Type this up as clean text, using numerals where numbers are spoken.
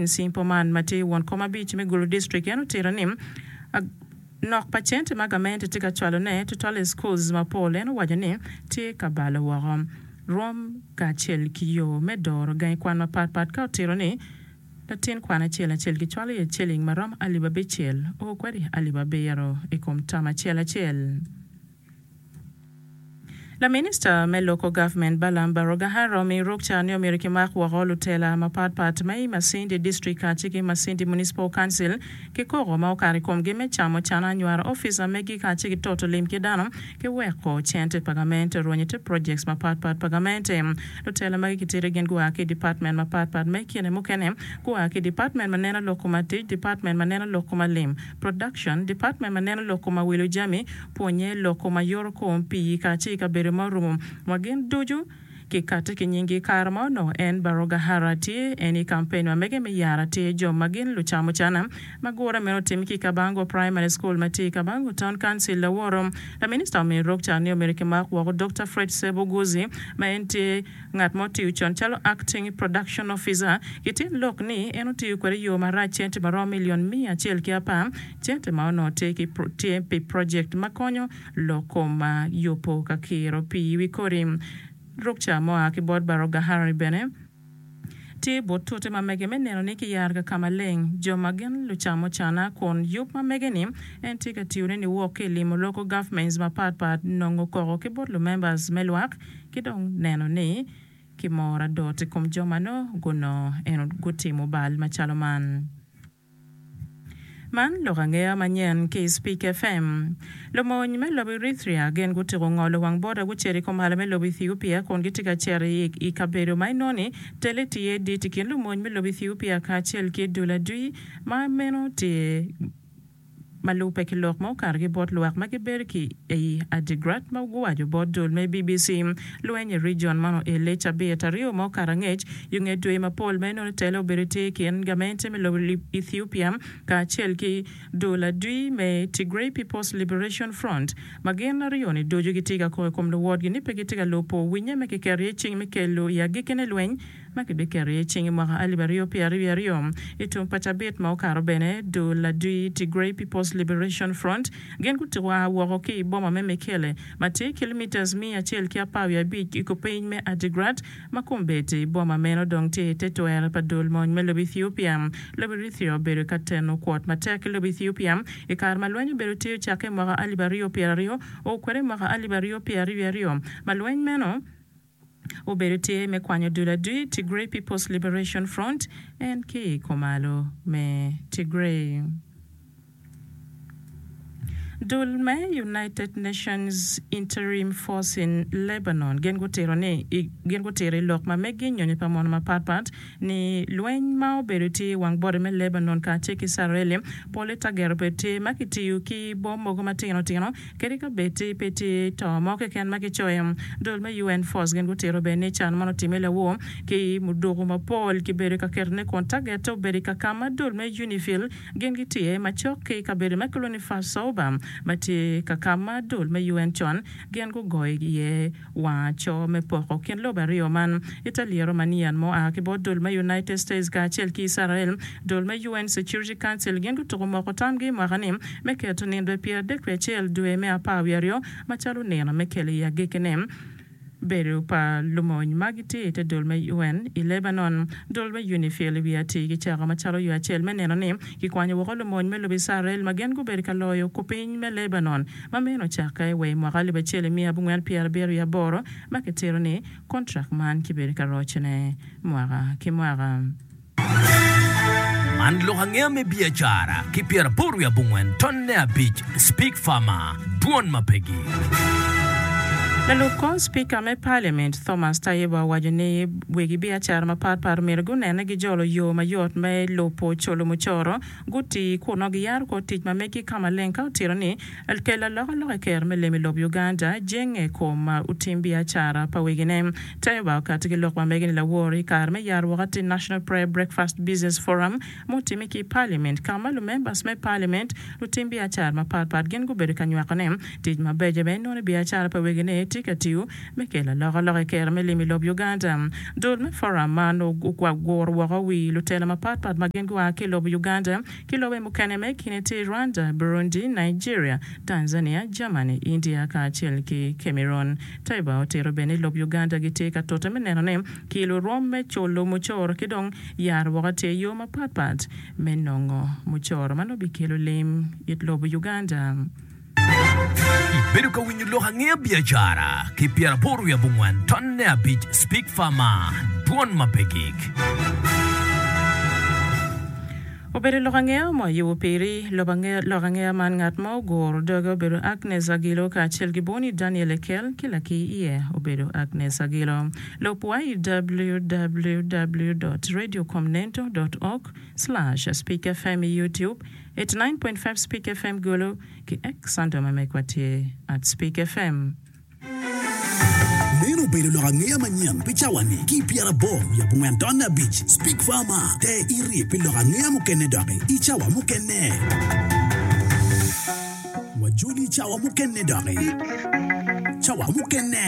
Nsimpo man ma tye won kom abic me Gulu District en otito ni nok pa cente ma gamente tye ka cwalo ne tutwal i schools mapol en owaco ni tye ka balo woko rwom kacel ki yo me doro gangi kwan mapat pat ka otito ni latin kwan acel acel kicwalo iye ciling maromo alip abicel o kwede alip abiro i kom tam acel acel. Laminista me Local Government Balaam Barugahara omiyo rukca ni omyero kimak woko lutela mapat pat ma i Masindi District kacel ki Masindi Municipal Council ki koko ma okato i komgi me camo cana anywaro opica megi kacel ki toto lim ki dano ki weko cente pa gamente orwenyo ite projects mapat pat pa gamente. Lutela magi kitito gin gua ki i department mapat pat ma i kine mukene gua ki i department ma neno lok kom tic, department ma neno lok kom alim, production, department ma neno lok kom awilo jami, pwonye lok kom ayoto kom pii kacel i kabedo ma orumo wa gin ducu ki kati ki nyingi i kare ma onongo en Barugahara tye en i kampen ma mege me yaro atir jo ma gin lucamucana ma gure meno otimme ki i Kabango Primary School ma tye i Kabango Town Council laworo laminista omiyo rukca ni omyero kimak woko Dokta Fred Ssebuguzi ma en tye Ngat ma otiyo con calo Acting Production Officer gitye lok ni en otiyo kwede i yo marac cente ma romo milion 110, cente ma onongo tye ki tye pi project ma konyo lok kom yubo ka kiro pii i wi kodi. Rukca mua ki bot Barugahara bene tye but tute ma mege me neno ni kiyaro ka ka maleng jo ma gin lucamocana kun yub ma mege ni en tye ka tiyone niwok ki i limo local governments mapat pat nongo koko ki bot lumembers me lwak ki dong neno ni kimoro adot i kom jo ma nongo gunongo en gutimo bal macalo man. Man lok angeya manyen ki i Speak FM. Lumony me lobo Eritrea gin gutiko ngolo wang boda gucito i kumalo me lobo Ethiopia kun gitye ka cito i kabedo ma inongo ni tele tye dit i kin lumony me lobo Ethiopia kacel ki dul adwi ma meno tye Ma lubbe ki lok ma okato ki bot lwak ma gibedo ki i Adigrat ma guwaco bot dul me BBC, lweny i region man oele cabit aryo ma okato angec yo nge dwe mapol ma inongo tele obedo tye i kin gamente me lobo Ethiopia kacel ki dul adwi me Tigray People's Liberation Front ma gin aryo-ni ducu gitye ka kok i kom luwotgi ni pe gitye ka lubo winye ma kiketo iye cing me kelo i agikkine lweny ma kibiketo iye cing i mwaka 2022. I tum pa cabit ma okato bene, dul adwi Tigray People's Liberation Front gin gutiko a woko ki i boma me Mekelle ma tye kilomitas 115 i kupiny me Adigrat ma kombeddi boma meno dong tye i te twero pa dul mony me lobo Ethiopia. Lobo Eritrea obedo ka teno kwot matek ki lobo Ethiopia i kare ma lweny obedo tye ocakke i mwaka 2020 o kwede i mwaka 2022 ma lweny meno Obedo tye me kwanyo dul adwi Tigray People's Liberation Front en ki i kumalo me Tigray. Dul me United Nations Interim Force in Lebanon gin gutito ni gin gutito i lok ma megi nyonyo pa mono mapat pat ni lweny ma obedo tye i wang bode me Lebanon kacel ki Icrael pole tagero obedo tye ma kitiyo ki bom mogo matino tino Kadi ka bed ti pe tye to mo keken ma kicoyo, dul me UN Force gin gutito bene ni can man otimme lawor ki muduku mapol kibedo ka ketone kun tagette obedo i kakama dul me UNIFIL gin gitye macok ki kabedo me kilwongo ni Fasouba ma tye kakama dul me UN con gin gugoyo iye wang aco me poko kin lobe aryo man. I te lyeto manyen ma oa ki bot dul me United States kacel ki Icrael, dul me UN Security Council gin gutuko moko tamgi i mwaka-ni me keto nino 31 dwe me apar wiye aryo macalo nino me kelo i agikkine bedo pa lumony ma gitye i te dul me UN i Lebanon. Dul me UNIFIL i wi atir gicako macalo yo acel me neno ni kikwanyo woko lumony me lobo Icrael ma gin gubedo ka loyo kupiny me Lebanon ma meno ocakke wa i mwaka 1478 ma kitito ni kontrak man kibedo ka rocone mwaka ki mwaka. Man lok angeya me biacara ki pyeraboro wiye abongwen tonne abic Speak Farmer, Dwon ma pegi. Lalub kor Spika me Paliament, Thomas Tayebwa owaco ni wegi biacara mapat pat omyero gunene gijolo yo mayot me lubo culo mucoro Guti kun nongo giyaro kor tic ma megi ka maleng ka otito ni kelo alokaloka i ker me lim i lob Uganda jenge i kom otim biacara pa wegine. Tayebwa okati ki lok ma mege ni lawor i kare me yaro woko atir National Prayer Breakfast Business Forum mutime ki i Parliament ka ma lumembers me Parliament, lutim biacara mapat pat gin gubedo ka nywako ne tic mabeco ma inongo i biacara pa wegine. tye ka tiyo me kelo alokaloka i kero me lim i lob Uganda. Dul me forum man oguro woko wi lutela mapat pat ma gin gua ki i lobo Uganda ki lobe mukene ma i kine tye Rwanda, Burundi, Nigeria, Tanzania, Germany, India kacel ki Cameroon. Taiba otito bene ni lob Uganda gitye ka tute me neno ni kilo rwom me culo mucoro ki dong yaro woko tye yo mapat pat me nongo mucoro ma nongo bikelo lim it lobo Uganda. Ibedo ka winyo lok angeya biacara ki pyeraboro wiye abongwen tonne abic Speak Farmer, Dwon ma pe gik. Obedo lok angeya ma oyubo piri. Lok angeya man ngat ma oguro doge obedo Agnes Agilo kacel ki Boni Daniel Ekel ki lakir iye obedo Agnes Agilo. Lub wa i www dot radiocomnento dot org slash speakfm i YouTube, 89.5 Speak FM Gulu, ki X handle ma megwa tye at Speak FM. Meno obedo lok angeya manyen pi cawa-ni ki i pyeraboro wiye abongwen tonne abic Speak Farmer Ter iri pi lok angeya mukene doki i cawa mukene. Wajoli i cawa mukene doki. Cawa mukene.